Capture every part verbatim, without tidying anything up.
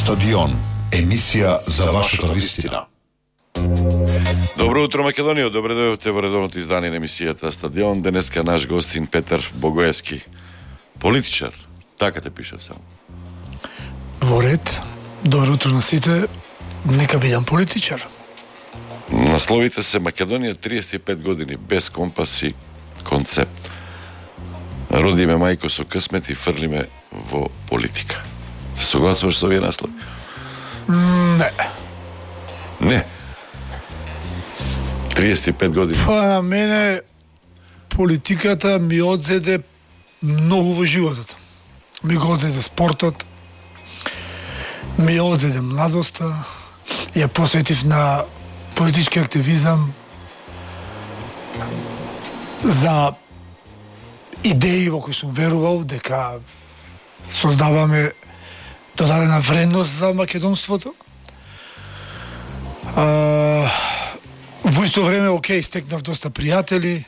Стадион, емисија за вашата вистина. Добро утро, Македонија. Добре дојдовте во редовното издание на емисијата Стадион. Денеска наш гостин Петар Богоевски, политичар. Така те пишав само. Во ред. Добро утро на сите. Нека бидам политичар. Насловите се Македонија триесет и пет години без компас и концепт. Родиме мајко со късмет и фрлиме во политика. Се согласуваш со овие наслови? Не. Не. триесет и пет години. Па на мене политиката ми одзеде многу во животот. Ми го одзеде спортот, ми одзеде младоста, ја посветив на политички активизам, за идеи во кои сум верувал дека создаваме додадена вредност за македонството. А, во исто време, окей, стекнав доста пријатели,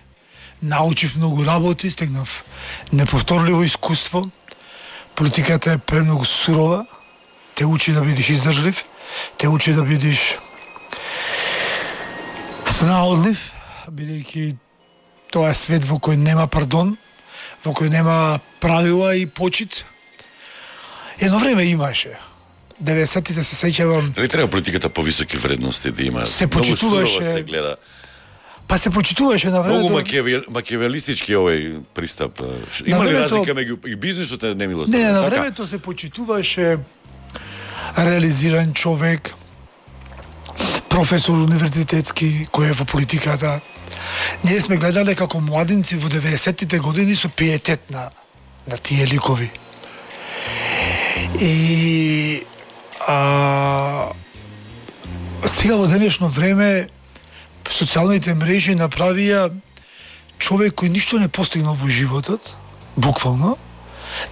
научив многу работи, стекнав неповторливо искуство. Политиката е премногу сурова, те учи да бидеш издржлив, те учи да бидеш снаодлив, бидејќи тоа е свет во кој нема пардон, во кој нема правила и почит. Едно време имаше. деветдесетите се сеќавам. Дали треба политиката повисоки вредности да има? Се почитуваше. Многу се гледа. Па се почитуваше на времето. Многу макиавел, макиавелистички овој пристап. Има ли времето... разлика меѓу и бизнисот е немилост? Не, на така? времето се почитуваше реализиран човек, професор универзитетски кој е во политиката. Ние сме гледале како младинци во деветдесетите години со пиетет на на тие ликови. И а, сега во денешно време социјалните мрежи направија човек кој ништо не постигнал во животот, буквално,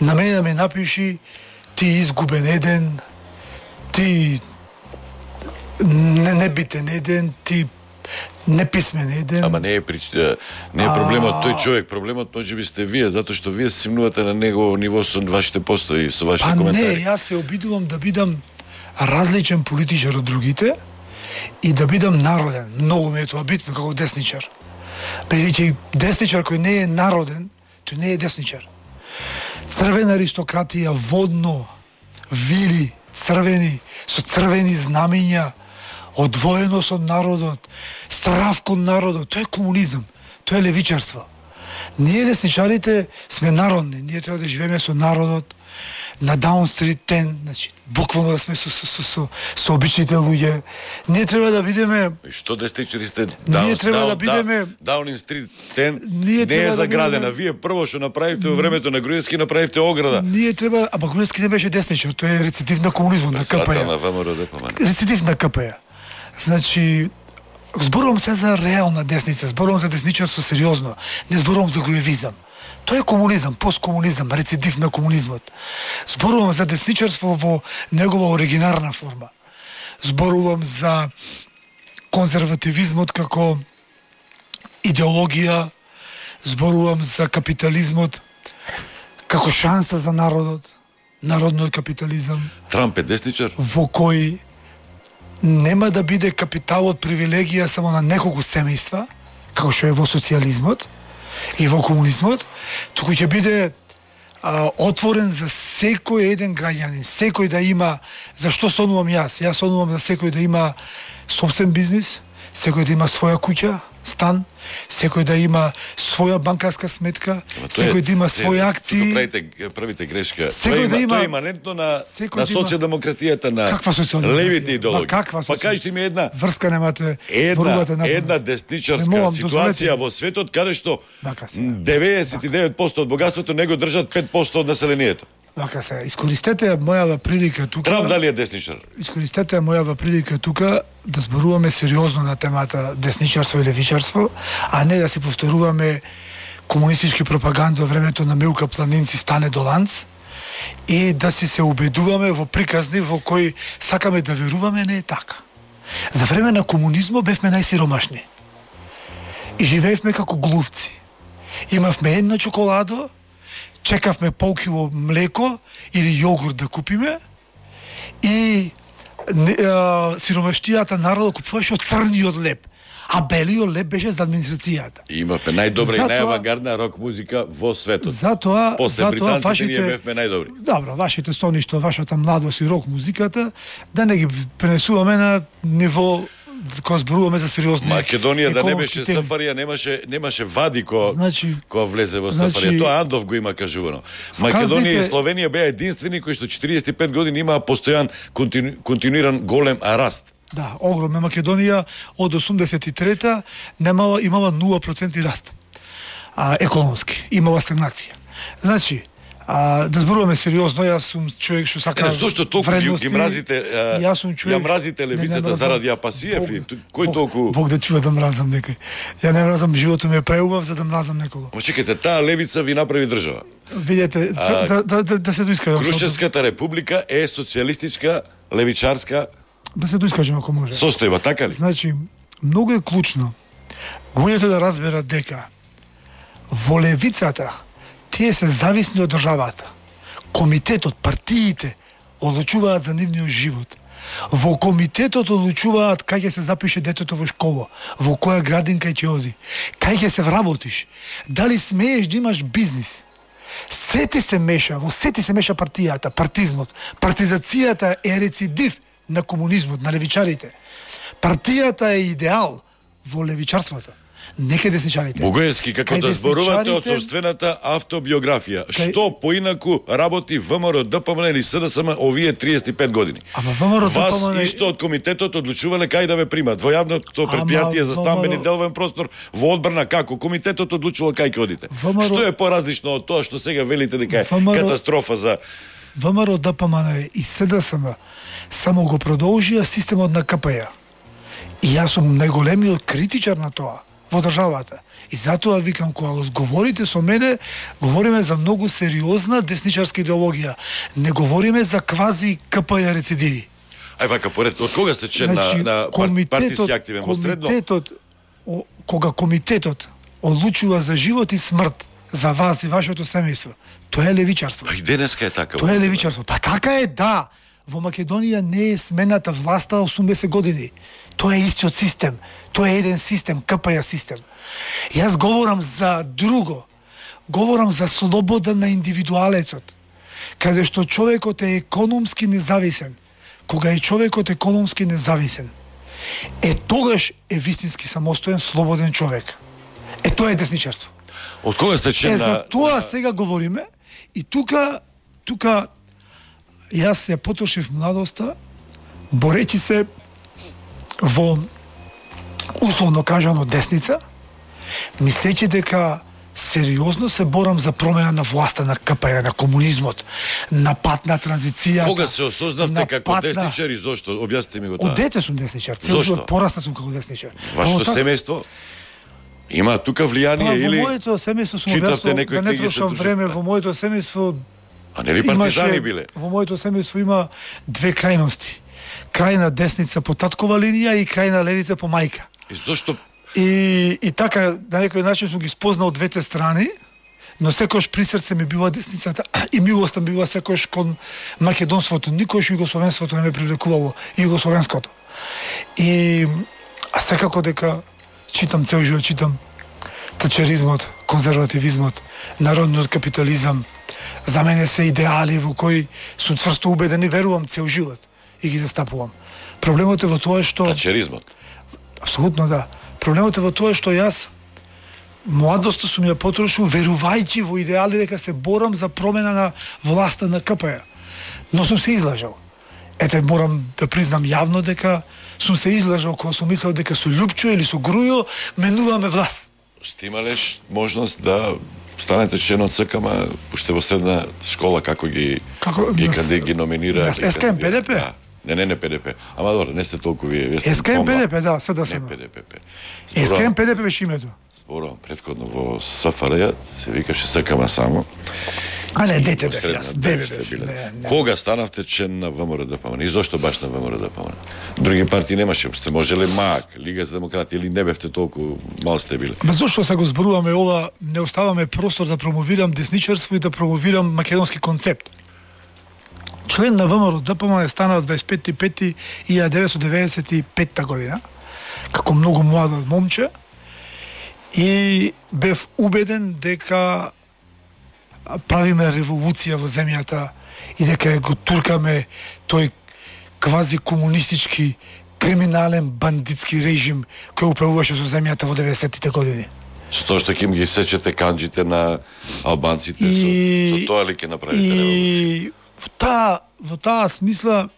на мене да ме напиши ти изгубен еден, ти не, небитен еден, ти неписмен еден. Ама не е прич... не е проблемот тој човек, проблемот можеби сте вие, затоа што вие се симнувате на негово ниво со вашите постои, со вашите па коментари. Не, јас се обидувам да бидам различен политичар од другите и да бидам народен. Многу ми е тоа битно како десничар. Бидејќи десничар кој не е народен, тој не е десничар. Црвена аристократија, водно, вили, црвени, со црвени знамиња, одвоеност од народот, страв кон народот, тоа е комунизам, тоа е левичарство. Ние десничарите сме народни, ние треба да живееме со народот, на Даун Стрит десет, значи, буквално да сме со, со, со, со, со обичните луѓе. Ние треба да бидеме... Што десничари сте? Ние треба да бидеме... Даунинг Стрит десет не е да заградена. бидеме... Вие прво што направивте во времето на Груевски, направивте ограда. Ние треба... Ама Груевски не беше десничар, тој е рецидив на комунизмот, на ка пе е. На ВМРО, па рецидив на ка пе е. Значи, зборувам се за реална десница, зборувам за десничарство сериозно, не зборувам за груевизам. Тоа е комунизам, посткомунизам, рецидив на комунизмот. Зборувам за десничарство во негова оригинарна форма. Зборувам за конзервативизмот како идеологија, зборувам за капитализмот како шанса за народот, народниот капитализам. Трамп е десничар? Во кој нема да биде капиталот привилегија само на неколку семејства, како што е во социјализмот и во комунизмот, туку ќе биде а, отворен за секој еден граѓанин, секој да има, зашто сонувам јас? Јас сонувам за секој да има собствен бизнис, секој да има своја куќа, стан, секој да има своја банкарска сметка, секој да има своји акции. Правите, правите грешка. Секој да има... Тоа е иманентно на, на да социјалдемократијата, на левите идеологии. Па кажете ми една... Врска немате... Една, една десничарска ситуација во светот, каде што деветдесет и девет проценти од богатството него држат пет проценти од населението. Вака се, искористете мојава прилика тука... Трамп дали е десничар? Искористете мојава прилика тука да зборуваме сериозно на темата десничарство и левичарство, а не да си повторуваме комунистички пропаганда во времето на Милка Планинци стане до ланц и да си се убедуваме во приказни во кои сакаме да веруваме, не е така. За време на комунизмот бевме најсиромашни. И живеевме како глувци. Имавме една чоколадо, чекавме полкило млеко или јогурт да купиме и не, а, сиромаштијата народот купуваше од црниот леп, а белиот леп беше за администрацијата. И имавме најдобра Затоа- и најавангардна рок музика во светот. Затоа, После затоа британците вашите, ние бевме најдобри. Добро, вашите соништо, вашата младост и рок музиката, да не ги пренесуваме на ниво кога зборуваме за сериозни Македонија да не економски беше теми. Сафарија, немаше немаше вади која Значи- која влезе во значи- Сафарија. Тоа Андов го има кажувано. Сказните- Македонија и Словенија беа единствени кои што четириесет и пет години имаа постојан контину, континуиран голем раст. Да, огромна. Македонија од осумдесет и трета немала, имала нула проценти раст. А, економски. Имала стагнација. Значи, а, да зборуваме сериозно, јас сум човек што сака Е, зошто толку ги, вредности, ги мразите, а, јас сум човек... ја мразите Не, не левицата мразам. заради Апасиев ли? Бог- Кој Бог- толку... Бог да чува да мразам некој. Ја не мразам, животот ми е преубав за да мразам некого. Ама чекайте, таа левица ви направи држава. Видете, А, да, да, да, да се доискажам. Крушевската република е социјалистичка, левичарска Да се доискажам ако може. состојба, така ли? Значи, многу е клучно луѓето да разберат дека во левицата тие се зависни од државата. Комитетот, партиите одлучуваат за нивниот живот. Во комитетот одлучуваат кај ќе се запише детето во школа, во која градинка ќе оди, кај ќе се вработиш, дали смееш да имаш бизнис. Сете се меша, во сете се меша партијата, партизмот. Партизацијата е рецидив на комунизмот, на левичарите. Партијата е идеал во левичарството. Неке десничарите. Бугаевски, како Кај да зборувате од десничарите- собствената автобиографија. Кај- Што поинаку работи ВМРО, ДПМН или СДСМ овие триесет и пет години? Ама ВМРО, Вас ДПМН исто од комитетот одлучувале кај да ве примат. Во јавното предпријатие за стамбени ВМРО деловен простор, во одбрана како? Комитетот одлучувал кај ќе одите. ВМРО Што е поразлично од тоа што сега велите дека е ВМРО катастрофа за... ВМРО, ДПМН и СДСМ само го продолжија системот на ка пе ја. И јас сум најголемиот критичар на тоа во државата. И затоа викам, кога говорите со мене, говориме за многу сериозна десничарска идеологија. Не говориме за квази ка пе ја рецидиви. Ај вака, поред, од кога сте член Значи, на, на пар- партиски активен во средно? комитетот, о, кога комитетот одлучува за живот и смрт за вас и вашето семејство, тоа е левичарство. Па и денеска е така. Тоа е левичарство. Па така е, да. Во Македонија не е смената власта осумдесет години. Тоа е истиот систем. Тоа е еден систем, ка пе ја систем. Јас говорам за друго. Говорам за слобода на индивидуалецот. Каде што човекот е економски независен. Кога е човекот економски независен, е тогаш е вистински самостоен, слободен човек. Е тоа е десничарство. Од кога сте член Е, на... за тоа на- сега говориме и тука, тука јас ја потрошив младоста борејќи се во условно кажано десница, мислејќи дека сериозно се борам за промена на власта на ка пе ја, на комунизмот, на пат на транзицијата. Кога се осознавте на како пат на- десничар и зошто? Објасните ми го тоа. Од дете сум десничар, цел Зошто? живот порасна сум како десничар. Вашето Па, семејство има тука влијание Па, во или... моето семејство сум читавте објаснил, некои да не книги, се трошам дружите? време, во моето семејство А нели партизани биле? Во моето семејство има две крајности. Крајна десница по таткова линија и крајна левица по мајка. И зошто... И, и така, на некој начин сум ги спознал двете страни, но секојаш при срце ми била десницата и милоста ми била секојаш кон македонството. Никош југословенството не ме привлекувало, југословенското. И а секако дека читам цел живот, читам тачеризмот, конзервативизмот, народниот капитализам, за мене се идеали во кои сум цврсто убеден и верувам цел живот и ги застапувам. Проблемот е во тоа што... Тачеризмот. Апсолутно да. Проблемот е во тоа што јас младоста сум ја потрошил верувајќи во идеали дека се борам за промена на власта на ка пе ја. Но сум се излажал. Ете, морам да признам јавно дека сум се излажал кога сум мислел дека со Лјупчо или со Грујо менуваме власт. Сте имале ш- можност да станете член од ЦК-ма, уште во средна школа како ги Како- ги на- каде ги номинира. на ги ес ка ем кандидира. Пе Де Пе? Да. Не, не, не Пе Де Пе. Ама добро, не сте толку вие, вие сте ес ка ем Пе помлад. Де Пе, да, се да Не сам. Пе Де Пе. Пе. ес ка ем Зборувам- Пе Де Пе беше името. Зборувам предходно во СФРЈ, се викаше СКМ само. А не, дете Во бев средна јас, бебе сте бев. биле. Не, не. Кога станавте член на ВМРО ДПМН? И зошто баш на ВМРО ДПМН? Други партии немаше, сте можеле МАК, Лига за демократија или не бевте толку мал сте биле? Ма зошто се го зборуваме ова, не оставаме простор да промовирам десничарство и да промовирам македонски концепт. член на ВМРО ДПМ стана од дваесет и пети пети илјада деветстотини деветдесет и петта година, како многу младо момче, и бев убеден дека правиме револуција во земјата и дека го туркаме тој квази комунистички, криминален, бандитски режим кој управуваше со земјата во деветдесеттите години. Со тоа што ќе им ги сечете канџите на албанците, и... со, со тоа ли ќе направите револуција? И во таа, во таа смисла,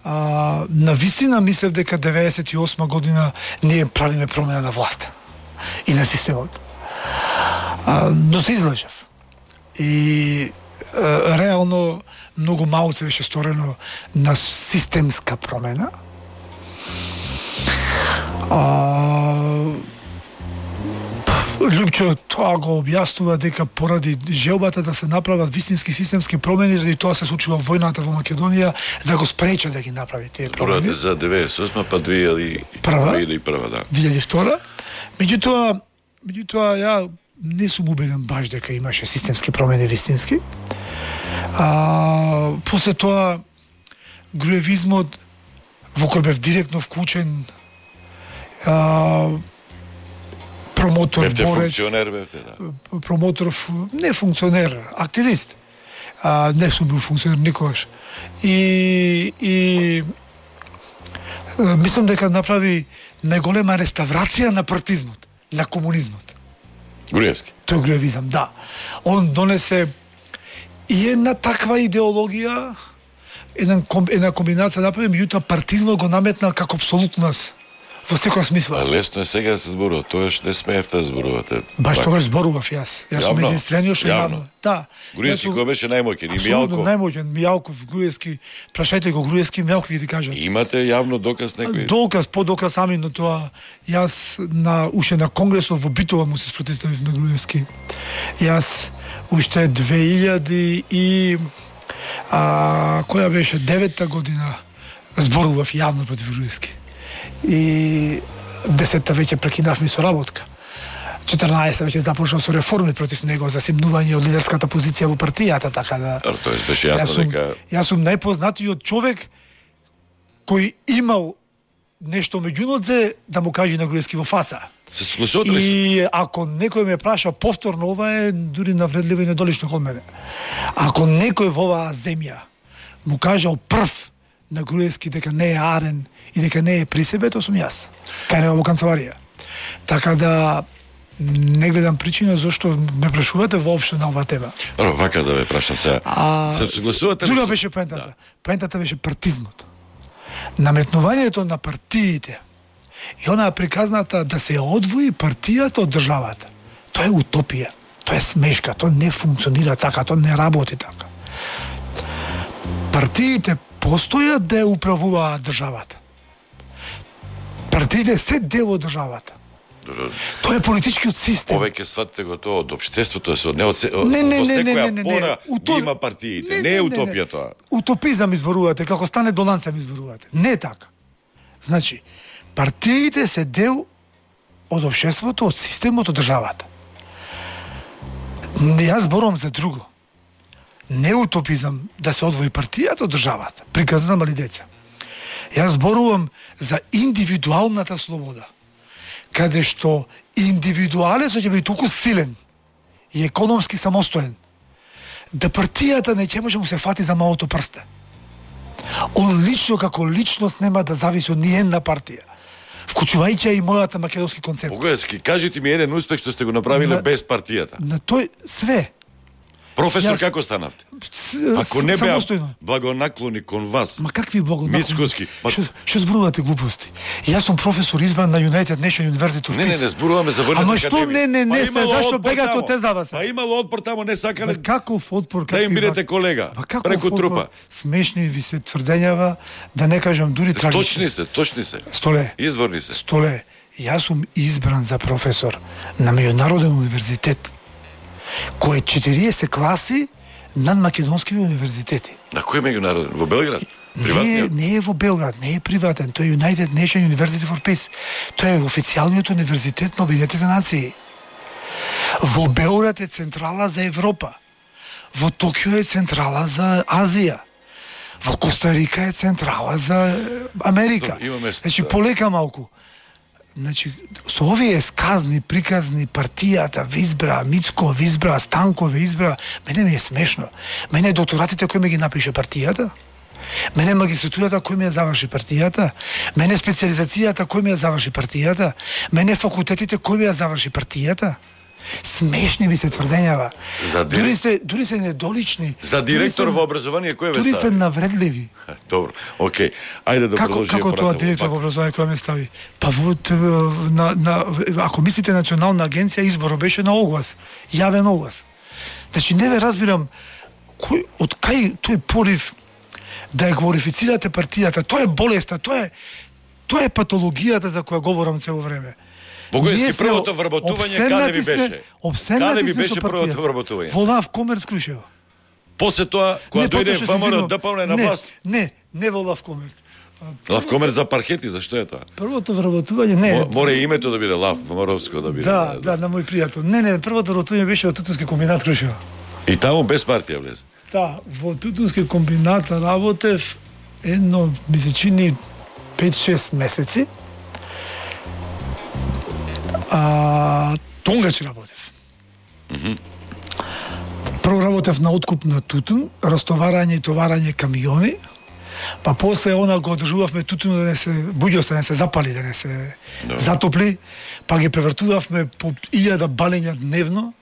а, навистина мислев дека деветдесет и осма година ние правиме промена на власта и на системот. А, но се излажев. И а, реално многу малце беше сторено на системска промена. А, Лјупчо тоа го објаснува дека поради желбата да се направат вистински системски промени, заради тоа се случила војната во Македонија, за да го спреча да ги направи тие промени. Порате за деветдесет и осма па две илјади и прва, да. две илјади и втора. Меѓутоа, меѓутоа ја не сум убеден баш дека имаше системски промени вистински. А, после тоа груевизмот во кој бев директно вклучен, а, промотор, бевте борец, функционер, бевте, да. Промотор, не функционер, активист. А, не сум бил функционер никогаш. И, и мислам дека направи најголема реставрација на партизмот, на комунизмот. Груевски. Тој груевизам, да. Он донесе и една таква идеологија, една, една комбинација направи, меѓутоа партизмот го наметна како апсолутност. Во секоја смисла. А лесно е сега да се зборува, тоа што не смеевте да зборувате. Баш тогаш зборував јас. Јас сум единствениот што јавно. Да. Груевски кој беше најмоќен? И Мијалков. Најмоќен Мијалков, Груевски. Прашајте го Груевски, Мијалков ќе ти кажат. Имате јавно доказ некој? Доказ, по доказ сами на тоа. Јас на уште на конгресот во Битова му се спротивив на Груевски. Јас уште две илјади и а која беше деветта година зборував јавно против Груевски. И десетта веќе прекинавме со работка. четрнаесетта веќе започнав со реформи против него за симнување од лидерската позиција во партијата, така да. Тоа беше јасно јас сум, дека јас сум најпознатиот човек кој имал нешто меѓу нодзе да му каже на Груевски во фаца. се согласувате ли? И ако некој ме праша повторно, ова е дури навредливо и недолично кон мене. Ако некој во оваа земја му кажал прв на Груевски дека не е арен и дека не е при себе, тоа сум јас. Кај него во канцеларија. Така да не гледам причина зашто ме прашувате воопшто на оваа тема. Ара, вака да ве прашам сега. А, се согласувате ли? Друга беше поентата. Да. Поентата беше партизмот. Наметнувањето на партиите и онаа приказната да се одвои партијата од државата. Тоа е утопија. Тоа е смешка. Тоа не функционира така. Тоа не работи така. Партиите постојат да ја управуваат државата. Партиите се дел од државата. Тоа е политичкиот систем. Повеќе сватите го тоа од општеството, се од не од се, од, не, не, во не, не, секоја не, не, пора Уто... ги има партиите. Не, не е утопија тоа. Утопизам изборувате, како стане до ланцем изборувате. Не е така. Значи, партиите се дел од општеството, од системот, од државата. Јас зборувам за друго. Не утопизам да се одвои партијата од државата. Приказна мали деца. Јас зборувам за индивидуалната слобода, каде што индивидуалецот ќе биде толку силен и економски самостоен, да партијата не ќе може му се фати за малото прсте. Он лично како личност нема да зависи од ни една партија, вклучувајќи и мојата македонски концепт. Погојски, кажете ми еден успех што сте го направиле на, без партијата. На тој све. Професор, Јас... како станавте? С, Ако не беа самостојно. благонаклони кон вас. Ма какви благонаклони? Мицкоски. Па... Што, што зборувате глупости? Јас сум професор избран на United Nation University of Peace. Не, не, не зборуваме за војната академија. Ама што не, не, не, па се, зашто бегате од тезава се? Па имало отпор таму, не сакале. Па каков отпор? Да им бидете колега, преку отпор? трупа. Смешни ви се тврдењава, да не кажам дури трагични. Точни се, точни се. Столе. Изворни се. Столе. Јас сум избран за професор на Меѓународен универзитет, кој е четириесет класи над македонски универзитети. На кој меѓународен? Во Белград? Не, не е во Белград, не е приватен, тој е United Nation University for Peace. Тој е официјалниот универзитет на Обединетите нации. Во Белград е централа за Европа. Во Токио е централа за Азија. Во Коста Рика е централа за Америка. Значи полека малку. Значи, со овие сказни, приказни, партијата ви избра, Мицко ви избра, Станко ви избра, мене ми е смешно. Мене докторатите кој ме ги напише партијата, мене магистратурата кој ми ја заврши партијата, мене специализацијата кој ми ја заврши партијата, мене факултетите кој ми ја заврши партијата. Смешни ви се тврдењава. Дир... Дури се дури се недолични. За директор во образование кој ве стави? Дури се навредливи. Добро. Океј. Ајде да како, продолжиме. Како тоа директор во образование кој ме стави? Па во на, на ако мислите национална агенција, изборот беше на оглас, јавен оглас. Значи не ве разбирам кој од кај тој порив да ја глорифицирате партијата. Тоа е болеста, тоа е тоа е патологијата за која говорам цело време. Богојски првото вработување каде ви беше? Каде ви беше првото вработување? Во Лав Комерц Крушево. После тоа, кога дојде ВМРО ДПМН на власт? Не, не во Лав Комерц. Лав Комерц за паркети, зашто е тоа? Првото вработување не. Море името да биде Лав Моровско да биде. Да, да, на мој пријател. Не, не, првото вработување беше во Тутунски комбинат Крушево. И таму без партија влезе. Да, во Тутунски комбинат работев едно, ми се чини пет-шест месеци. А, тонгаш работев. Mm-hmm. Прво работев на откуп на тутун, растоварање и товарање камиони, па после она го одржувавме тутун да не се буѓос, да не се запали, да не се no. затопли, па ги превртувавме по илјада балења дневно,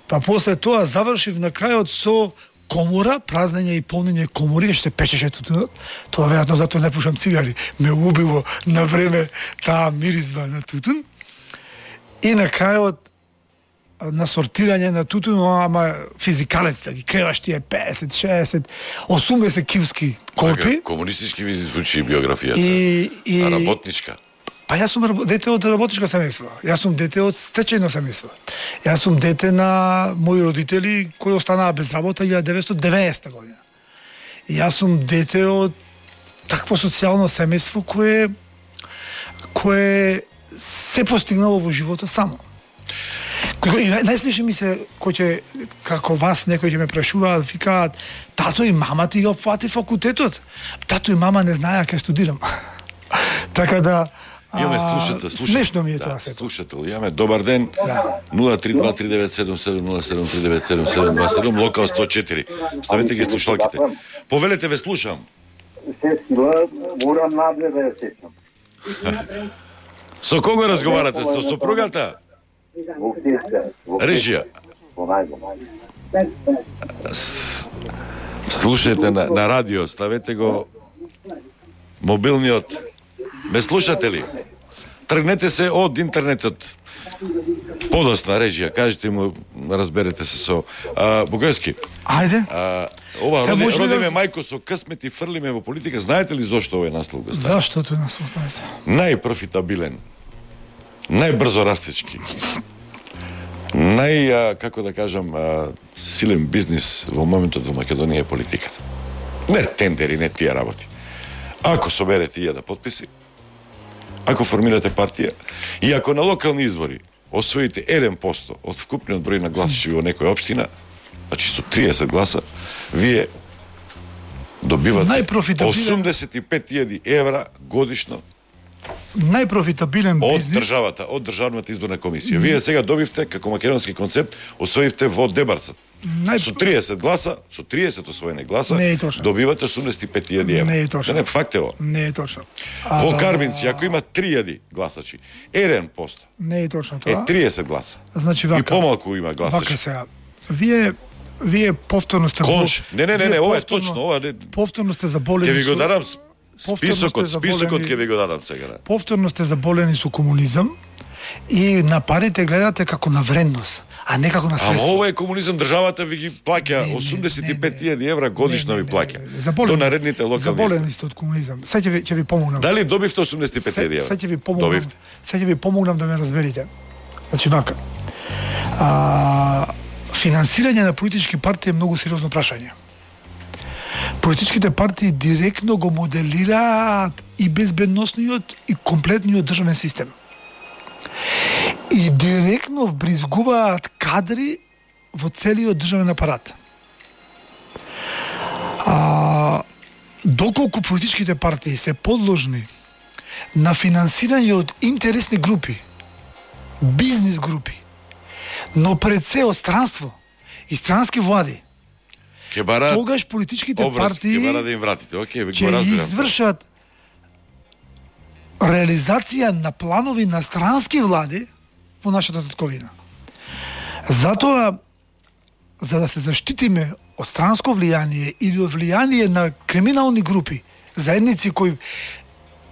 па после тоа завршив на крајот со комора, празнење и полнење комори, што се печеше тутунот. Тоа веројатно затоа не пушам цигари. Ме убило на време таа миризба на тутун. И на крајот на сортирање на тутун, ама физикалец, да ги креваш тие песет, шесет, осумдесет килски корпи. Комунистички ви звучи биографијата. И, и... А работничка? Па јас сум дете од работничко семејство. Јас сум дете од стечајно семејство. Јас сум дете на мои родители кои останаа без работа илјада деветстотини и деветдесета година. И јас сум дете од такво социјално семејство кое кое се постигнало во животот само. И најсмешно ми се, кој ќе, како вас, некој ќе ме прашуваат, викаат, тато и мама ти го плати факултетот. Тато и мама не знаеа кај студирам. Така да, имаме слушател, слушател. Смешно ми е да, тоа сето. Слушател, имаме добар ден. Да. нула три два три девет седум седум нула седум три девет седум седум два седум, локал сто четири. Ставете ги слушалките. Повелете, ве слушам. Се сила, морам надле да ја сечам. Со кого разговарате? Со сопругата? Во Киска. Режија. Во најдом. Слушајте на, на радио, ставете го мобилниот. Ме слушате ли? Тргнете се од интернетот. Подосна Режија, кажете му, разберете се со а, Богојски. Ајде. А, ова Се роди, може родиме да... мајко со късмет и фрлиме во политика. Знаете ли зошто овој наслов го стави? Зашто тој наслов знаете? Најпрофитабилен, најбрзо растечки, нај, а, како да кажам, а, силен бизнис во моментот во Македонија е политиката. Не тендери, не тие работи. Ако соберете илјада подписи, ако формирате партија и ако на локални избори освоите еден процент од вкупниот број на гласачи во некоја општина, значи со триесет гласа, вие добивате осумдесет и пет илјади евра годишно најпрофитабилен од бизнис државата, од државната изборна комисија. Вие сега добивте како македонски концепт, освоивте во Дебарцат. Нај... Со триесет гласа, со триесет освоени гласа, Не е точно. добивате осумдесет и пет илјади евра. Не е точно. Не, не, факт е во. Не е точно. Во Карминци, ако има три илјади гласачи, еден процент Не е точно е тоа. триесет гласа. Значи И вака. помалку има Вака гласачи. сега. Вие вие повторно сте Конч. Не, не, не, не, вие ова е повторно- точно, ова не. Повторно сте заболени. Ќе ви го со- дадам повторно списокот, сте списокот заболени- ќе ви го дадам сега. да. Повторно сте заболени со комунизам и на парите гледате како на вредност, а не како на Ама средство. ова е комунизам, државата ви ги плаќа Не, не, осумдесет и не, пет не. илјади евра годишно Не, ви не, плаќа. не, не, заболени- До наредните локални Заболени избори. сте од комунизам. Сега ќе ви ќе ви помогнам. Дали добивте осумдесет и пет илјади Се- евра? Сега ќе ви помогнам. Добивте. Сега ќе ви помогнам да ме разберите. Значи вака. А, финансирање на политички партии е многу сериозно прашање. Политичките партии директно го моделираат и безбедносниот и комплетниот државен систем. И директно вбризгуваат кадри во целиот државен апарат. А, доколку политичките партии се подложни на финансирање од интересни групи, бизнис групи, но пред се од странство и странски влади, Ке барат тогаш политичките образ, партии ке барат да им вратите. Океј, ви ќе го разбирам. извршат реализација на планови на странски влади во нашата татковина. Затоа, за да се заштитиме од странско влијание или од влијание на криминални групи, заедници кои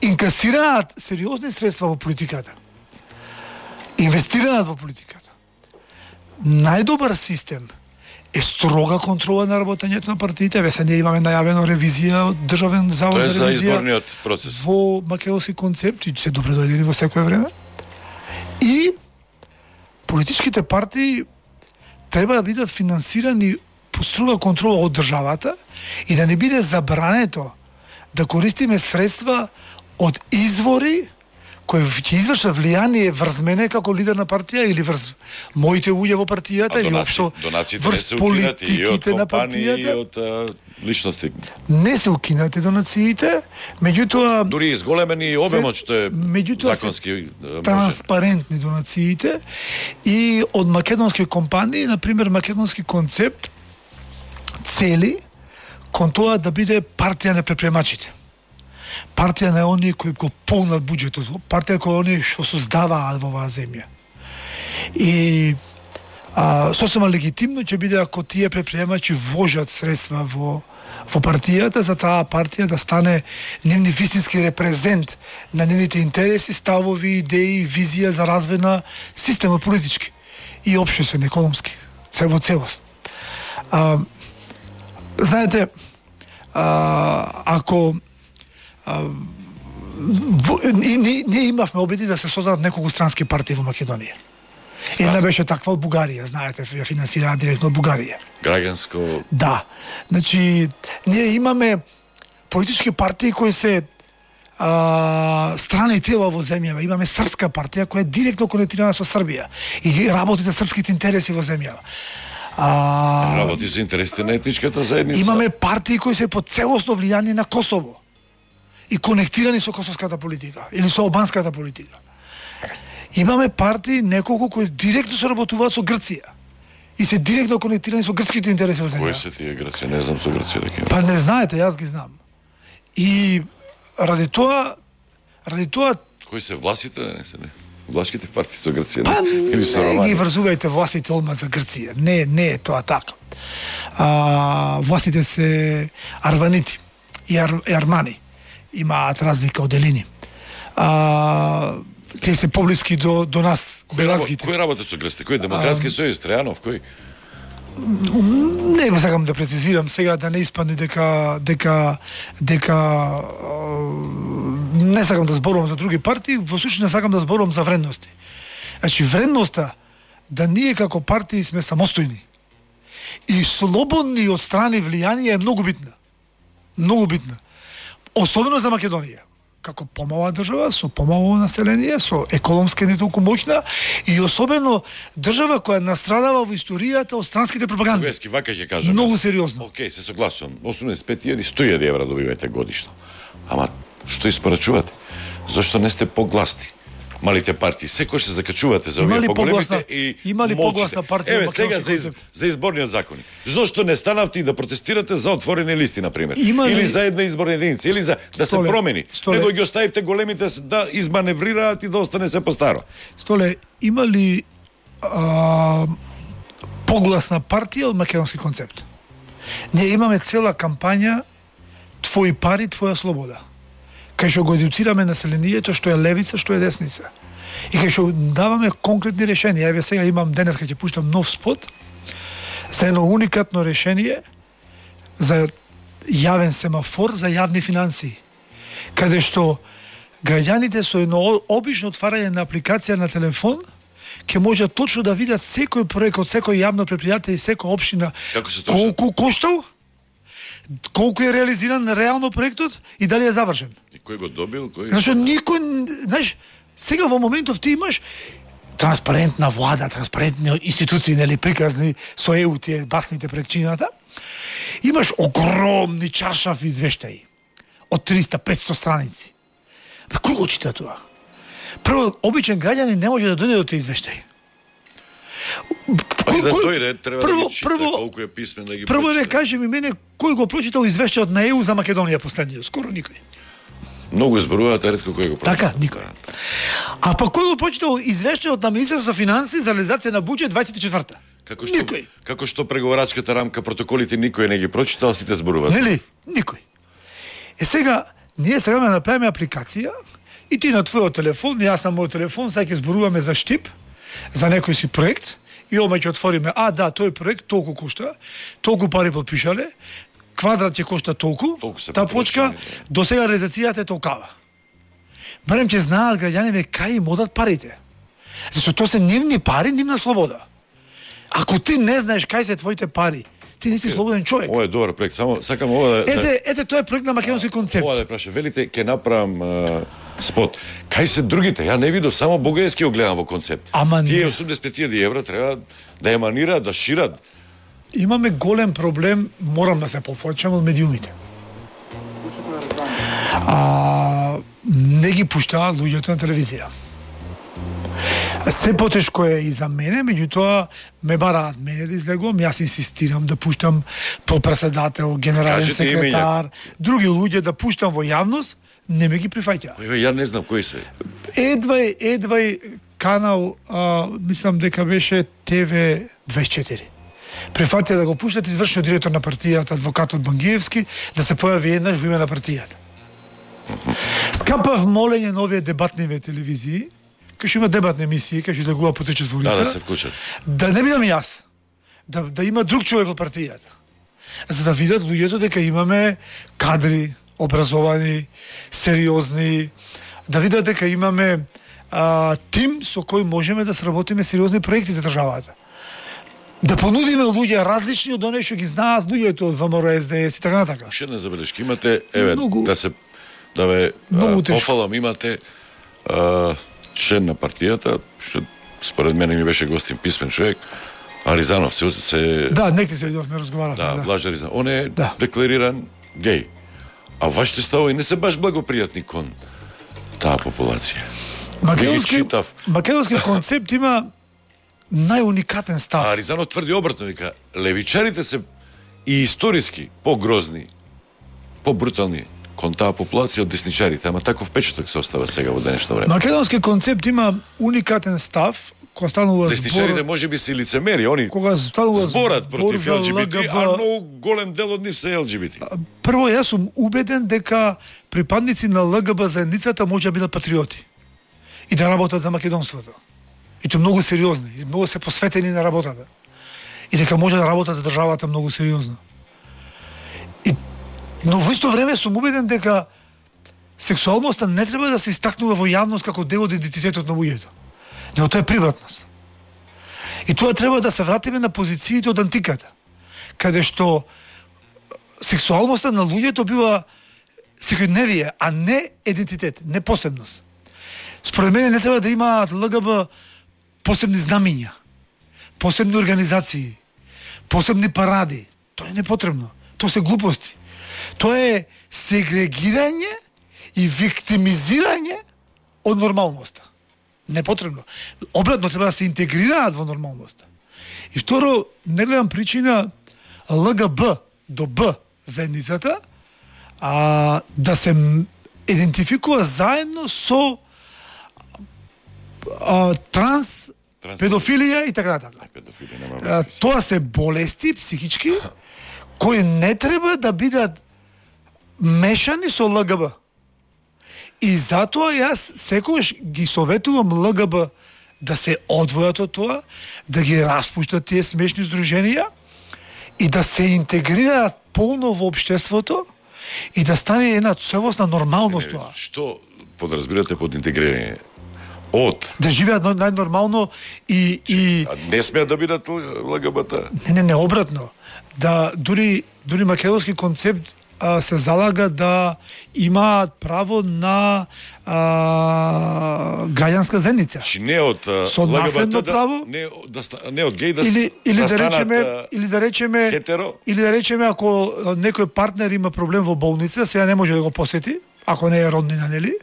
инкасираат сериозни средства во политиката, инвестираат во политиката, најдобар систем е строга контрола на работењето на партиите. Ве се ние имаме најавено ревизија од Државен завод Тоа е за за ревизија изборниот процес. во македонски концепт и се добре дојдени во секое време. И политичките партии треба да бидат финансирани по строга контрола од државата и да не биде забрането да користиме средства од извори кои ќе извршат влијание врз мене како лидер на партија или врз моите луѓе во партијата или општо донациите не врз се укинати и од политиките на компании и партијата. од а, личности. Не се укинати донациите, меѓутоа Дури изголемени обемот што е меѓутоа законски се а, може. транспарентни донациите и од македонски компании, на пример македонски концепт цели кон тоа да биде партија на предприемачите. Партија на оние кои го полнат буџетот, партија кои оние што создаваат во оваа земја. И а, сосема легитимно ќе биде ако тие предприемачи вложат средства во во партијата, за таа партија да стане нивни вистински репрезент на нивните интереси, ставови, идеи, визија за развој на системот политички и општествен, економски, се во целост. А, знаете, а, ако а, во, и, ние, ние имавме обиди да се создадат неколку странски партии во Македонија. Една беше таква од Бугарија, знаете, ја финансираа директно од Бугарија. Граѓанско. Да. Значи, ние имаме политички партии кои се а, страни тела во земјава. Имаме српска партија која е директно конектирана со Србија и работи за српските интереси во земјава. А, Работи за интересите на етничката заедница. имаме партии кои се под целосно влијание на Косово и конектирани со косовската политика или со албанската политика. Имаме партии неколку кои директно соработуваат со Грција и се директно конектирани со грцките интереси во Кои земјава. се тие Грција? Не знам со Грција да ќе. Па не знаете, јас ги знам. И ради тоа, ради тоа, Кои се власите, да не се не? Влашките партии со Грција, па не? Или со не ги Романија? врзувајте властите одма за Грција. Не, не е тоа така. А, властите се арванити и, ар, и армани. Имаат разлика од делини. А, те се поблиски до, до нас, Кој белазгите. Кој работат со Грција? Кој Демократски сојуз, Трајанов, кој? Не сакам да прецизирам сега да не испадне дека дека дека а, не сакам да зборувам за други партии, во случај не сакам да зборувам за вредности. Значи вредноста да ние како партии сме самостојни и слободни од страни влијанија е многу битна. Многу битна. Особено за Македонија. Како помала држава, со помало население, со економски не толку моќна и особено држава која настрадава во историјата од странските пропаганди. Вески, вака ќе кажам. Многу јас. сериозно. Океј, се согласувам. осумдесет и пет илјади, сто илјади евра добивате годишно. Ама што испорачувате? Зошто не сте погласни? Малите партии, секој се закачувате за Има овие ли поголемите погласна- и има ли молчите. погласна партија Еве во сега македонски за, из, концепт? за изборниот закони. Зошто не станавте и да протестирате за отворени листи на пример? Има ли- Или за една изборна единица, или за да се Столе, промени. Столе. Него ги оставивте големите с- да изманеврираат и да остане се по старо. Столе, има ли а, погласна партија од македонски концепт? Ние имаме цела кампања Твои пари, твоја слобода. Кај што го едуцираме населението што е левица, што е десница. И кај што даваме конкретни решенија. Еве сега имам денес кај ќе пуштам нов спот за едно уникатно решение за јавен семафор за јавни финансии. Каде што граѓаните со едно обично отварање на апликација на телефон ќе можат точно да видат секој проект од секој јавно предпријатие и секоја општина Како се точно? колку коштал, колку е реализиран реално проектот и дали е завршен. И кој го добил, кој? Зашто никој, знаеш, сега во моментов ти имаш транспарентна влада, транспарентни институции, нели приказни со Е У тие басните пред чината. Имаш огромни чаршафи извештаи. од триста до петсто страници. Па кој го чита тоа? Прво, обичен граѓанин не може да дојде до тој извештај. Кој, да дојде, треба прво, да ги чита, прво, колку е писмен да ги прво прочита. ве кажи ми мене кој го прочитал извештајот на Е У за Македонија последниот? Скоро никој. Многу зборуваат, а ретко кој го прочита. Така, никој. А па кој го прочитал извештајот на Министерството за финансии за реализација на буџет дваесет и четврта? Како што, Никој. како што преговарачката рамка, протоколите никој не ги прочитал, сите зборуваат. Нели? Никој. Е сега, ние сега ме направиме апликација и ти на твојот телефон, и јас на мојот телефон, сега ќе зборуваме за штип, за некој си проект, и ома ќе отвориме, а да, тој проект толку кошта, толку пари подпишале, квадрат ќе кошта толку, Толку се та почка, потрошени. до сега реализацијата е толкава. Барем ќе знаат граѓаните кај им одат парите. Зашто тоа се нивни пари, нивна слобода. Ако ти не знаеш кај се твоите пари, ти не си слободен човек. Ова е добар проект, само сакам ова да... Ете, ете, тоа е проект на македонски концепт. Ова да праша, велите, ќе направам а, спот. Кај се другите? Ја не видов, само Бугајски го гледам во концепт. Ама Тие не. осумдесет и пет илјади евра треба да еманираат, да шират. Имаме голем проблем, морам да се поплачам од медиумите. А, не ги пуштаат луѓето на телевизија. Се потешко е и за мене, меѓутоа ме бараат мене да излегувам, јас инсистирам да пуштам по-председател, генерален Кажете секретар, други луѓе да пуштам во јавност, не ме ги прифаќаат. Еве, ја не знам кои се. Едвај, едвај канал, а, мислам дека беше Те Ве дваесет и четири. Прифатија да го пуштат извршниот директор на партијата, адвокатот Бангиевски, да се појави еднаш во име на партијата. Скапав молење на овие дебатни телевизии, кај што има дебатни емисии, кај што излегува по три четворица, Да, да се вклучат. да не бидам јас, да, да има друг човек од партијата, за да видат луѓето дека имаме кадри, образовани, сериозни, да видат дека имаме а, тим со кој можеме да сработиме сериозни проекти за државата. Да понудиме луѓе различни од оние што ги знаат луѓето од ВМРО, Ес Де Ес и така натака. Уште една забелешка. Имате, еве, Многу- да се да ве Многу а, тешко. пофалам, имате а, член на партијата, што според мене ми беше гостин писмен човек, Аризанов се, се Да, некои се видовме, разговаравме. да, Да, Блаж Аризанов. Он е Да. деклариран геј. А вашите ставови не се баш благопријатни кон таа популација. Македонски, Ги читав. македонски концепт има најуникатен став. А Аризанов тврди обратно, вика, левичарите се и историски погрозни, побрутални кон таа популација од десничарите, ама таков печаток се остава сега во денешно време. Македонски концепт има уникатен став, кога станува Десничарите збор, може би се лицемери, они кога станува зборат збор против за Ел Џи Би Ти, ЛГБ. а многу голем дел од нив се Ел Џи Би Ти. Прво, јас сум убеден дека припадници на ЛГБ заедницата може да бидат патриоти и да работат за македонството. И тоа многу сериозни, и многу се посветени на работата. И дека може да работат за државата многу сериозно. И, но во исто време сум убеден дека сексуалноста не треба да се истакнува во јавност како дел од идентитетот на луѓето. Него тоа е приватност. И тоа треба да се вратиме на позициите од антиката, каде што сексуалноста на луѓето бива секојдневие, а не идентитет, не посебност. Според мене не треба да имаат ЛГБ посебни знамиња, посебни организации, посебни паради. Тоа е непотребно. Тоа се глупости. Тоа е сегрегирање и виктимизирање од нормалноста. Непотребно. Обратно треба да се интегрираат во нормалноста. И второ, не гледам причина ЛГБ до Б заедницата а, да се м- идентификува заедно со а, транс, Транс- педофилија и така натака. Педофили нема А, врска. Тоа се болести психички кои не треба да бидат мешани со ЛГБ. И затоа јас секогаш ги советувам ЛГБ да се одвојат од тоа, да ги распуштат тие смешни здруженија и да се интегрираат полно во општеството и да стане една целосна нормалност тоа. Што подразбирате под интегрирање? Од. Да живеат нај- најнормално и и А не смеат да бидат ЛГБТ. не не не обратно. Да дури дури македонски концепт а, се залага да имаат право на а, граѓанска заедница. Значи не од а, Со наследно право? Да, не, да, ста- не од геј да, Или или да, станат, речеме а, или да речеме хетеро? или да речеме ако а, некој партнер има проблем во болница, сега не може да го посети, ако не е роднина, нели?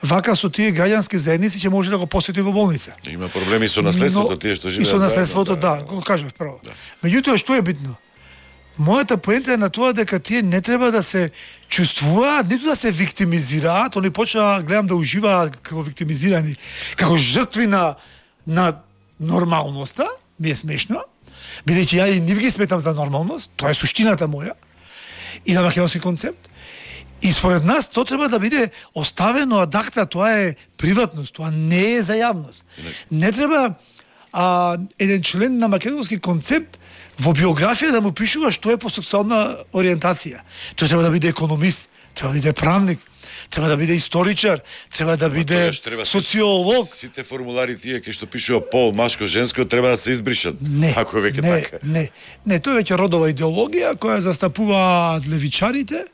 Вака со тие граѓански заедници ќе може да го посети во болница. Има проблеми со наследството, тие што живеат. И со наследството, заедно, да, го кажав право. Да. Меѓутоа што е битно? Мојата поента е на тоа дека тие не треба да се чувствуваат, ниту да се виктимизираат, они почнаа, гледам, да уживаат како виктимизирани, како жртви на, на нормалноста, ми е смешно, бидејќи ја и нив ги сметам за нормалност, тоа е суштината моја, и на македонски концепт. И според нас тоа треба да биде оставено адакта, тоа е приватност, тоа не е за јавност. Не треба а, еден член на македонски концепт во биографија да му пишува што е по сексуална ориентација. Тој треба да биде економист, треба да биде правник, треба да биде историчар, треба да биде треба социолог. Сите формулари тие кои што пишува пол, машко, женско треба да се избришат. Не, ако е веќе не, така. Не, не, тоа е веќе родова идеологија која застапуваат левичарите,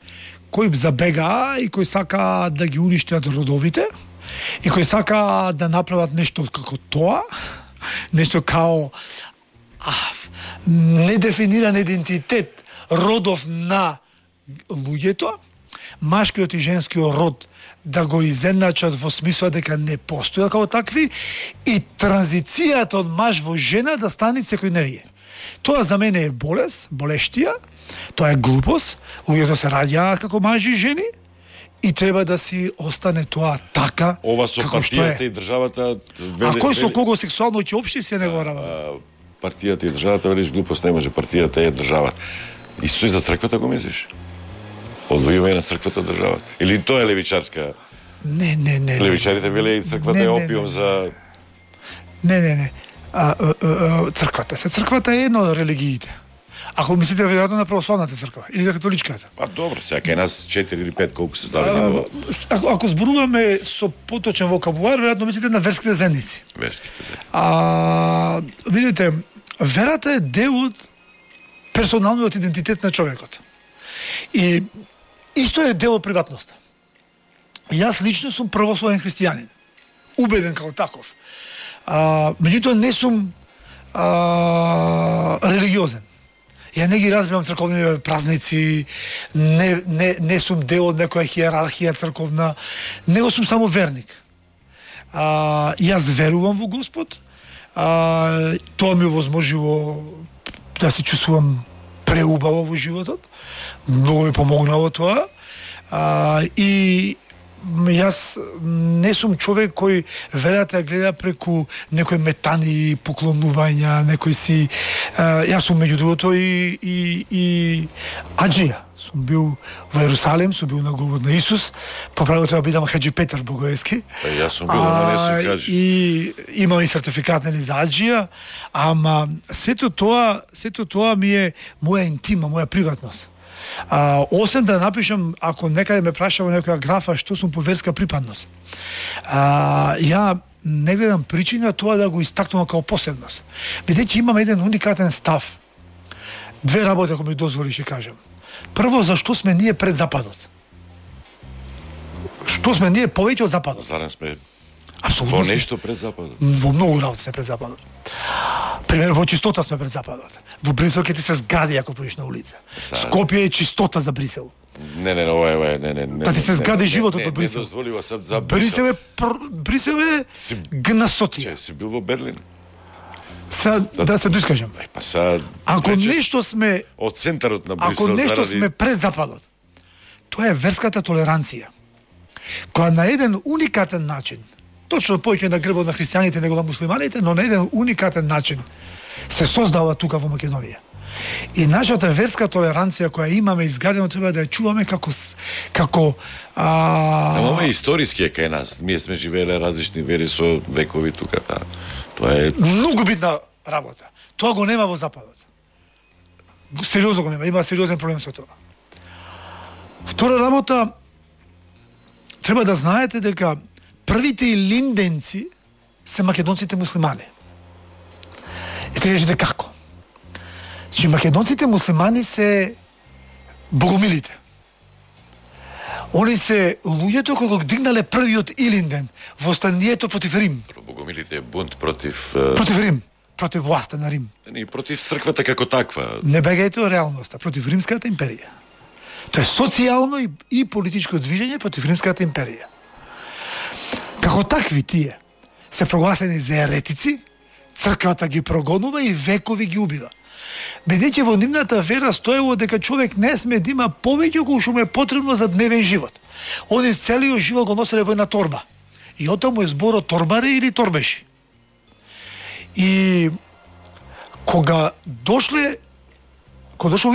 кои забегаа и кои сака да ги уништат родовите и кои сака да направат нешто како тоа, нешто као а, недефиниран идентитет родов на луѓето, машкиот и женскиот род да го изедначат во смисла дека не постојат како такви и транзицијата од маж во жена да стане секојдневие. Тоа за мене е болест, болештија, тоа е глупост, луѓето се раѓаат како мажи и жени и треба да си остане тоа така Ова со како што партијата е. и државата А кој со кого сексуално ќе општи се не го работи? а, партијата и државата, велиш глупост не може, партијата е државата. Исто и за црквата го мислиш? Одвојување на црквата од државата. Или тоа е левичарска? Не, не, не. Левичарите веле и црквата Не, е не, опиум не. за Не, не, не. А, а, а, црквата. Се црквата е една од религиите. Ако мислите веројатно на православната црква или на католичката. А добро, сега кај нас четири или пет колку се ставени А, во ако, ако зборуваме со поточен вокабулар, веројатно мислите на верските заедници. верските заедници. А, видите, верата е дел од персоналниот идентитет на човекот. И исто е дел од приватноста. Јас лично сум православен христијанин. Убеден како таков. А, меѓутоа не сум а, религиозен. Ја не ги разбирам црковни празници, не, не, не сум дел од некоја хиерархија црковна, него сум само верник. А, јас верувам во Господ, а, тоа ми возможило да се чувствувам преубаво во животот, многу ми помогнало тоа, а, и јас не сум човек кој верата ја гледа преку некои метани, поклонувања, некои си... А, јас сум меѓу другото и, и, и аџија. Сум бил во Ерусалим, сум бил на гробот на Исус, по правило треба бидам Хаџи Петар Богоевски. Па јас сум бил, ама не сум кажи. И имам и сертификат нели за аџија, ама сето тоа, сето тоа ми е моја интима, моја приватност. А, осем да напишам, ако некаде ме праша во некоја графа што сум по верска припадност, а, ја не гледам причина тоа да го истакнувам како посебност. Бидејќи имам еден уникатен став. Две работи, ако ми дозволиш, ќе кажам. Прво, зашто сме ние пред Западот? Што сме ние повеќе од Западот? Зарем сме Апсолутно во сме. нешто пред Западот. Во многу работи сме пред Западот. Пример, во чистота сме пред Западот. Во Брисел ќе ти се згади ако поиш на улица. Сега- Скопје е чистота за Брисел. Не, не, не, ова е, ова е, не, не, не. Та ти се не, згади не, животот не, од Брисел. Не дозволива сад за Брисел е пр... Брисел е Си- гнасотија. Че, си бил во Берлин? Сега да се доискажам. Па са Ако речеш, нешто сме од центарот на Брисел Ако нешто заради сме пред Западот, тоа е верската толеранција, која на еден уникатен начин, точно повеќе на грбот на христијаните него на муслиманите, но на еден уникатен начин се создава тука во Македонија. И нашата верска толеранција која имаме изградено треба да ја чуваме како с- како а, Ама ова е историски е кај нас. Ние сме живееле различни вери со векови тука, та. Тоа е многу битна работа. Тоа го нема во Западот. Сериозно го нема, има сериозен проблем со тоа. Втора работа, треба да знаете дека првите илинденци се македонците муслимани. И се кажете како? Значи, македонците муслимани се богомилите. Они се луѓето кои го дигнале првиот Илинден во станието против Рим. Богомилите е бунт против... е, Против Рим, против власта на Рим. И против црквата како таква. Не бегајте од реалноста, против Римската империја. Тоа е социјално и, и политичко движење против Римската империја. Како такви тие се прогласени за еретици, црквата ги прогонува и векови ги убива. Бидејќи во нивната вера стоело дека човек не сме да има повеќе колку што му е потребно за дневен живот. Они целиот живот го носеле во една торба. И оттаму е зборот торбари или торбеши. И кога дошле, кога дошло